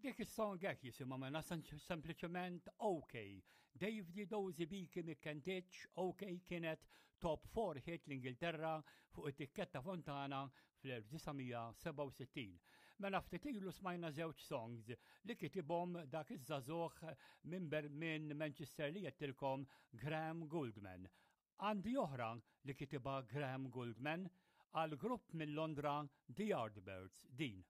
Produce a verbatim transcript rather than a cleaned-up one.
Dik is-song hekk jisimha mela sempliċement OK. Dave Dozy Biki Mikkentich OK kienet top four hit l-Ingilterra fuq it-tikketta Fontana fl-elf disa' mija sebgħa u sittin. Mela ftit ilu smajna żewġ songs li kitibhom dak iż-żagħżugħ minn Ber-, minn Manchester li jettilkom Graham Gouldman. Għandi oħra li kitibha Graham Gouldman għal grupp minn Londra The Yardbirds din.